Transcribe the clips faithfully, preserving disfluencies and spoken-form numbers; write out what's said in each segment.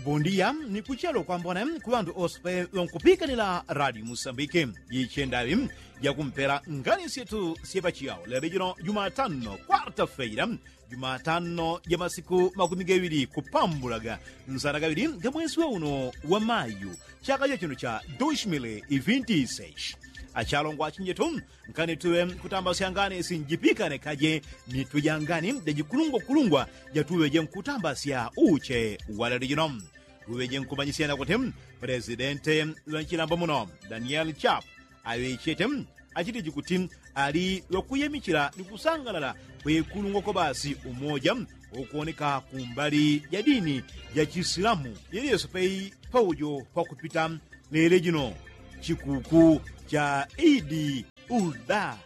Bondia ni kuchelo kwambone ku ŵandu ose pe ŵankupikanila radio musambike. Jichendaŵi jakumpela ngani syetu syepachiyawo lelo jino jumatano kwarta feila, jumatano ja masiku makumi gaŵili kupambulaga nsana gaŵili ga mwesi wa uno wa mayu, chaka cha chino cha dos mil e vinte e seis. Achalongwa achinjetu, nkani tuŵe nkutambasya ngani sinjipikane kaje mitwe ja ngani ja jikulungwakulungwa jatuŵe je nkutambasya uche wa lelo jino. Tuŵe je nkumanyisyana kuti, presidente ŵa nchilambo muno, daniel chap, aŵechete achitiji kuti ali ŵakuyemichila ni kusangalala kwekulungwa kwa basi umoja ukuwoneka kumbali ja dini ja chisilamu yeliyose pei paujo pakupita lele jino chikuku cha idi ulda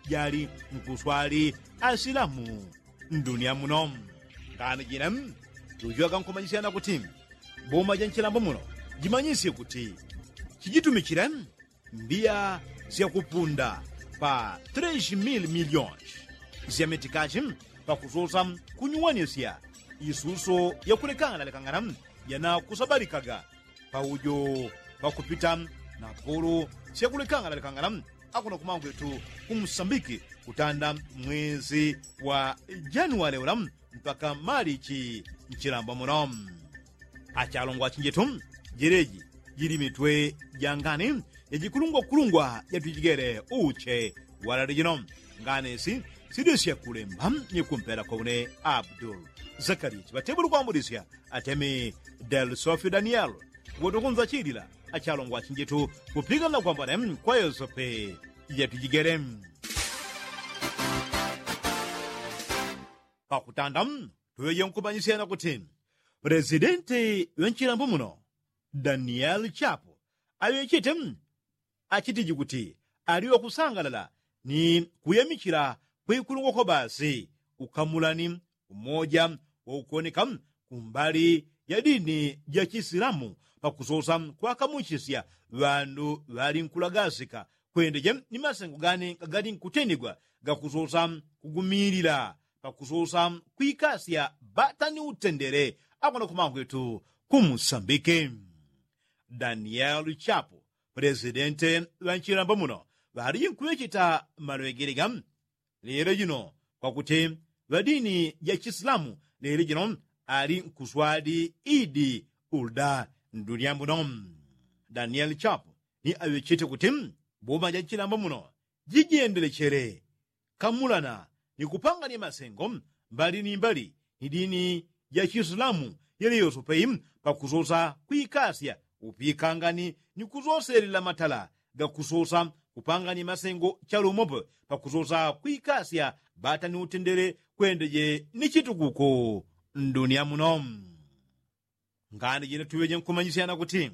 jali nkuswali asilamu ndunia muno. Ngani jine tujuwaga nkumanyisyana kuti boma ja nchilambo muno jimanyisye kuti chijitumichile mbiya syakupunda pa tres mil milionshi sya mitikashi pakusosa kunyuwanisya isuso yakulekangana lekangana janakusabalikaga paujo pakupita na polo syakulekangana lekangana akuno kumangwetu kumusambiki kutanda mwezi wa januwale ula mpaka malichi nchilamba muno. Achalongwa achinjetu, jeleji jili mitwe ja ngani jajikulungwakulungwa jatujigele uche walale jino. Ngani si sidesya kulemba ni kumpela kwa une abdul zakariya chiŵatebuli kwambudisya atemi del sofio daniel woto kunzachilila achalongwa achinjetu kupigana kwambone kwa yosepe jatujigele. Pakutanda tuŵeje nkumanyisyana kuti presidenti ŵa nchilambo muno daniel chapo aŵechete achitiji kuti ali wakusangalala ni kuyamichila kwikulungwa kwa basi ukamulani umoja waukuwoneka kumbali ja dini ja chisilamu pakusosa kwakamuchisya ŵandu ŵali nkulagasika kwendeje ni masengo gani gagali nkutendigwa gakusosa kugumilila pakusosa kwikasya bata ni utendele akona kumangwetu kumusambike. Daniel chapo pulesidente ŵa nchilamba muno ŵaliji nkuŵecheta malwegele ga lelo jino kwakuti ŵadini ja chisilamu lelo jino ali nkuswadi idi ulda ndunia muno. Daniel chapo ni aŵechete kuti boma ja nchilamba muno jijendelechele kamulana ni kupanganya masengo mbali ni mbali ni dini ja chisilamu yele yoso pei pakusosa kwikasya upikangani ni kusoselela matala gakusosa kupanganya masengo chalumopo pakusosa kwikasya bata ni utendele kwendeje ni chitukuko ndunia muno. Ngani jine tuŵeje nkumanyisyana kuti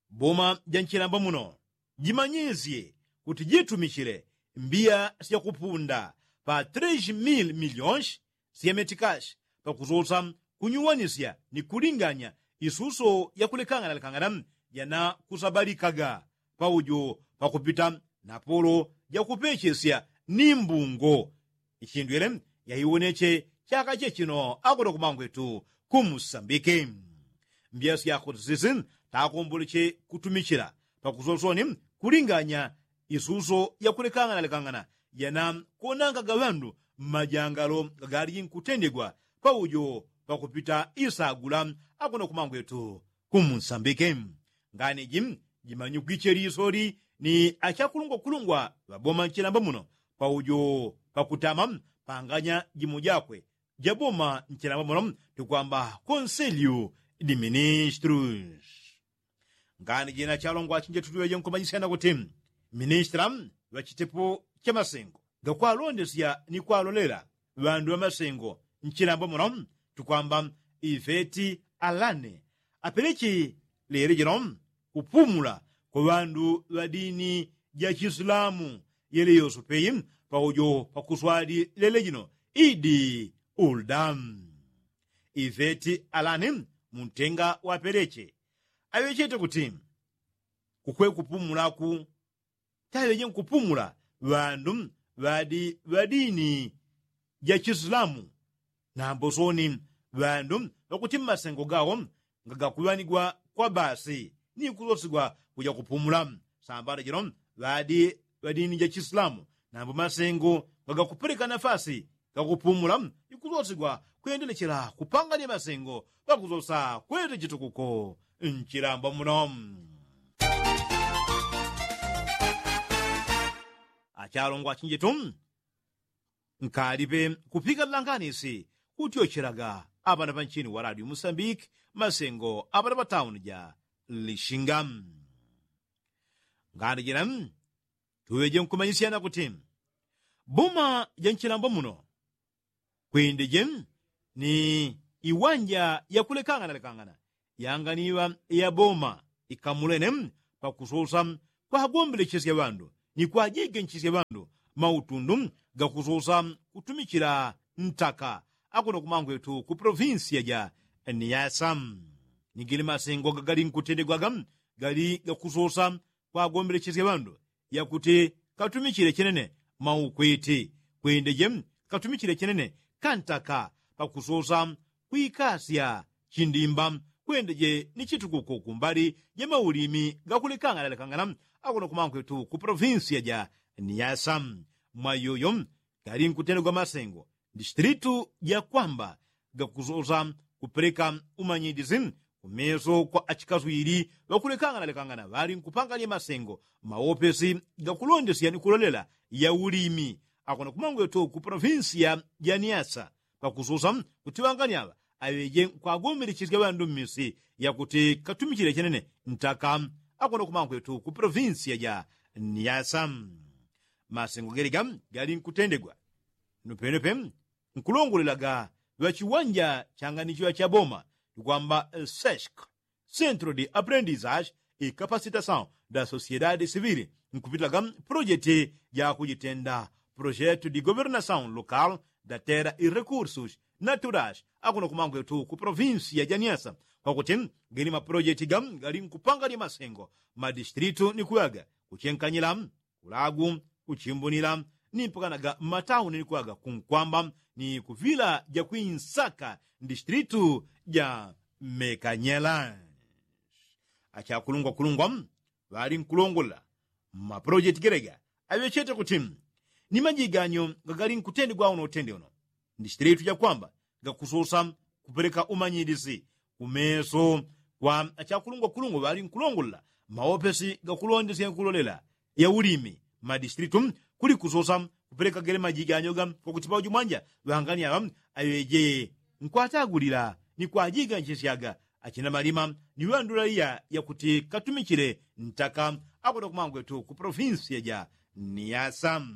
boma ja nchilamba muno jimanyisye kuti jitumichile mbiya syakupunda pa tres mil milionshi sya metikashi pakusosa kunyuwanisya ni kulinganya isuso yakulekangana lekangana janakusabalikaga paujo pakupita na polo jakupechesya ni mbungo ichindwele yaiwoneche chaka chechino akuno kumangwetu kumusambike. Mbiya syakutisi takomboleche kutumichila pakusosoni kulinganya isuso yakulekangana lekangana janakonangaga ŵandu mmajangalo gagaliji nkutendegwa paujo pakupita isagula akuno kumangwetu kumusambike. Ngani ji jimanyikwiche lisoli ni achakulungwakulungwa ŵaboma nchilamba muno paujo pakutama panganya jimo jakwe jaboma nchilamba muno tukwamba konselyu di ministrus. Ngani jina chalongwa chinje tutuŵeje nkumanyisyana kuti ministra ŵachitepo chamasengo gakwalondesya ni kwalolela ŵandu ŵamasengo nchilamba muno tukwamba iveti alane apeleche lele jino kupumula kwa ŵandu ŵa dini ja chisilamu yele yoso peyi paujo pakuswali lele jino idi ulda. Iveti alane muntenga wapeleche aŵechete kuti kukwe kupumulaku taŵeje nkupumula ŵandu ŵadi ŵa dini ja chisilamu nambo soni ŵandu ŵakuti mmasengo gawo ngagakuŵanigwa kwa basi ni kusosigwa kuja kupumula. Sambala jino ŵadi ŵadini ja chisilamu nambo masengo ngagakupeleka nafasi gakupumula ni kusosigwa kwendelechela kupanganya masengo pakusosa kwete chitukuko nchilamba muno. Achalongwa achinjetu nkalipe kupika langanisi kutyochelaga apana panchini wa radio musambiki masengo apana patauni ja lishinga. Ngani jina tuŵeje nkumanyisyana kuti boma ja nchilambo muno kwindeje ni iwanja yakulekangana lekangana yanganiŵa ya boma ikamulene pakusosa kwagombelechesya ŵandu ni kwajigenchisya ŵandu mautundu gakusosa kutumichila ntaka akuno kumangwetu ku provinsiya ja niyasa. Ni gili masengo gagali nkutendegwaga gali gakusosa kwagombelechesya ŵandu yakuti katumichile chenene maukwiti kwindeje katumichile chenene kantaka pakusosa kwikasya chindimba kwendeje ni chitukuko kumbali ja maulimi gakulekangana lekangana akuno kumangwetu ku provinsiya ja niyasa. Mwayoyo gali nkutendegwa masengo distritu ja kwamba gakusosa kupeleka umanyidisi kumeso kwa achikaswili ŵakulekangana lekangana ŵali nkupanganya masengo mawopesi gakulondesya ni kulolela ya ulimi akuno kumangwetu ku provinsiya ja niyasa pakusosa kuti ŵangani aŵa aŵeje nkwagombelechesya ŵandu mmisi yakuti katumichile chenene ntaka akuno kumangwetu ku provinsiya ja niyasa. Masengo gelega gali nkutendegwa nupenope nkulongolelaga ŵachiwanja changanichiŵa cha boma tukwamba seshk centro de aprendizage e capacitasaun da sociedade civil nkupitilaga projeti ja kujitenda projetu di governasaun local da tera i rekursus naturais akuno kumangwetu ku provinsiya ja niyasa kwakuti geni maprojeti ga gali nkupanganya masengo madistritu ni kuŵaga kuchenkanyila kulagu kuchimbunila ni mpakanaga mmatauni ni kuŵaga kunkwamba ni kuvila ja kwinsaka distritu ja mekanyela. Achakulungwakulungwa ŵali nkulongolela mmapolojeti gelega aŵechete kuti ni majiganyo gagali nkutendegwa uno utende uno distritu ja kwamba gakusosa kupeleka umanyilisi kumeso kwa achakulungwakulungwa ŵali nkulongolela mawopesi gakulondesya nkulolela ya ulimi mmadistritu kuli kusosa kupeleka gele majiganyo ga kwakuti pauju mwanja ŵangani aŵa aŵeje nkwatagulila ni kwajiganchesyaga achina malima ni ŵandula iya yakuti katumichile ntaka akuno kumangwetu ku provinsiya ja niyasa.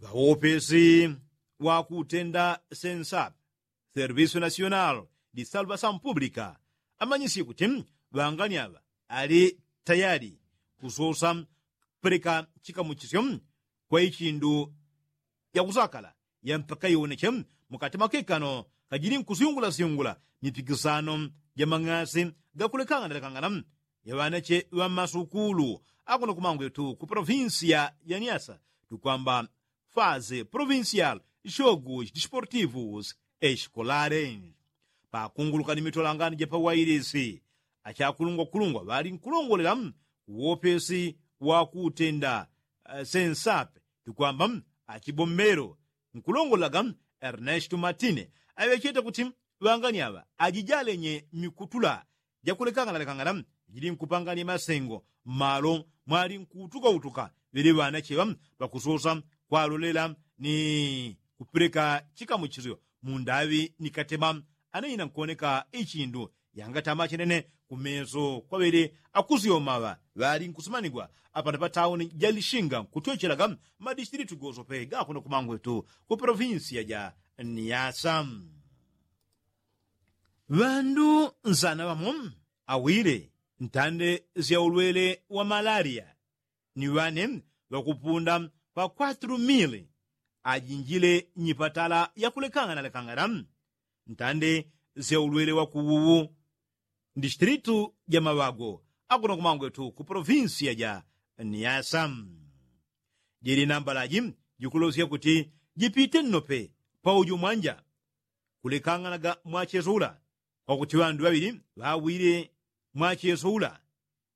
Ŵawopesi wakutenda sensapi servisu nasional di salvasaun publika amanyisye kuti ŵangani aŵa ali tayali kusosa kupeleka chikamuchisyo kwa ichindu yakusakala ya mpaka iwoneche mukati mwa kekano kajili nkusyungulasyungula mipikisano ja mang'asi gakulekangana lekangana ya ŵanache ŵa mmasukulu akuno kumangwetu ku provinsiya ya niyasa tukwamba fase provinsial shogus disportivus eskolare. Pakunguluka ni mitolangano ja pawailisi achakulungwakulungwa ŵali nkulongolela uwopesi wakutenda sensape tukwamba achibombelo nkulongolaga ernestu matine aŵechete kuti ŵangani aŵa ajijalenye mikutula jakulekangana lekangana jili nkupanganya masengo mmalo mwali nkuutukautuka ŵele ŵanacheŵa ŵakusosa kwalolela ni kupeleka chikamuchisyo mundaŵi ni katema anaina nkuoneka ichindu yangatama chenene kumeso kwa ŵele akusyomaŵa ŵali nkusumanigwa apana patauni ja lishinga nkutyochelaga mmadistritu gosope gakuno kumangwetu ku provinsiya ja niyasa. Ŵandu nsana ŵamo awile ntande sya ulwele wa malaliya ni ŵane ŵakupunda pa kwatulu mili ajinjile nyipatala yakulekangana lekangana ntande sya ulwele wa kuwuwu mdistritu ja maŵago akuno kumangwetu ku provinsiya ja niyasa. Jili nambalaji jikulosya kuti jipite nnope pauju mwanja kulekanganaga mwachesula Wakuti ŵandu ŵaŵili ŵawile mwacheso ula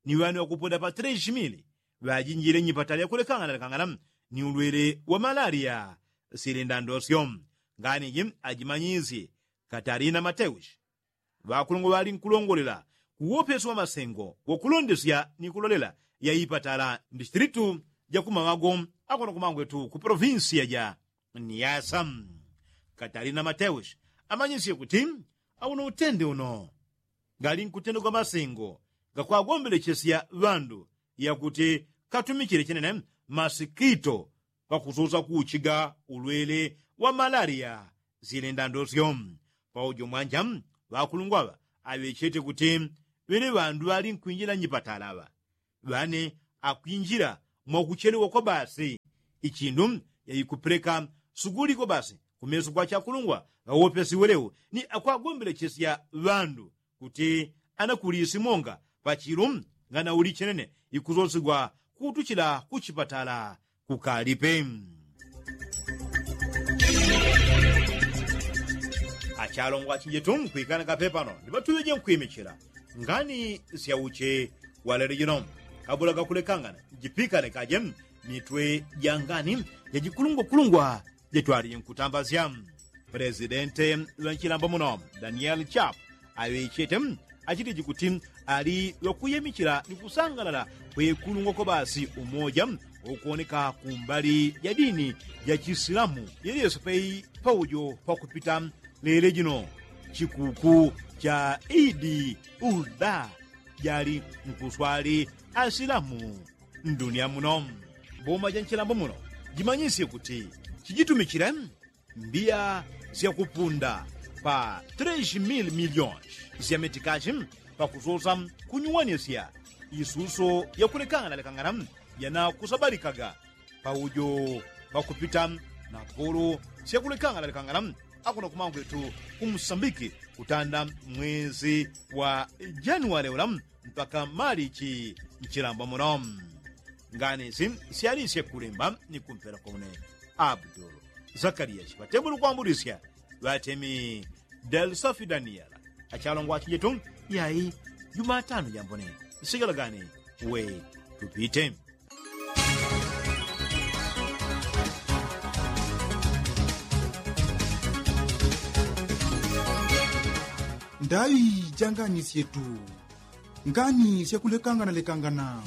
ni ŵani ŵakupoda pa treshimili ŵajinjile nyipatala yakulekangana lekangana ni ulwele wa malaria. Silindandosyo ngani ji ajimanyisye katarina mateushi ŵakulungwa ŵali nkulongolela kuwopesi wa masengo wakulondesya ni kulolela ya ipatala ndistilitu jakumaŵago akono kumangwetu ku polovinsiya ja niyasa. Katarina mateushi amanyisye kuti auno utende uno gali nkutendegwa masengo gakwagombelechesya ŵandu yakuti katumichile chenene masikito pakususa kuchiga ulwele wa malaria. Silindandosyo paujo mwanja ŵakulungwa ŵa aŵechete kuti ŵele ŵandu ŵali nkwinjila nyipatala ŵa ŵane akwinjila mwakuchelewa kwa basi ichindu yaikupeleka suguli kwa basi kumeso kwa chakulungwa ŵawopesiwelewo ni akwagombelechesya ŵandu kuti anakulisi monga pachilu nganauli chenene ikusosigwa kutuchila kuchipatala kukalipe. Achalongwa achinjetu nkwikana kapepano ndipatuŵeje nkwimichila ngani syauche walele jino kabula gakulekangana jipikane kaje mitwe jangani jajikulungwakulungwa jetwalije nkutambasya. Pelesidente ŵanchilambo muno danieli chapu aŵechete achitiji kuti ali ŵakuyemichila ni kusangalala kwekulungwa kwa basi umoja ukuwoneka kumbali ja dini ja chisilamu yeliyose pei paujo pakupita lele jino chikuku cha idi uda jali nkuswali asilamu. Ndunia muno boma ja nchilambo muno jimanyisye kuti chijitumichile mbiya syakupunda pa tres mil milionshi sya mitikashi pakusosa kunyuwanisya isuso yakulekangana lekangana yanakusabalikaga paujo pakupita na polo syakulekangana lekangana akuno kumangwetu kumusambiki kutanda mwezi wa januwale ula mpaka malichi nchilambo muno. Ngani si syalisye kulemba ni kumpela kwaune abdulu zakaliya chipatembulo kwambulisya ŵatemi delsafi daniyela achalongwa achinjetu yai jumatano jambone nsigala gani we tupite. Ndai janganisyetu ngani syakulekangana lekangana.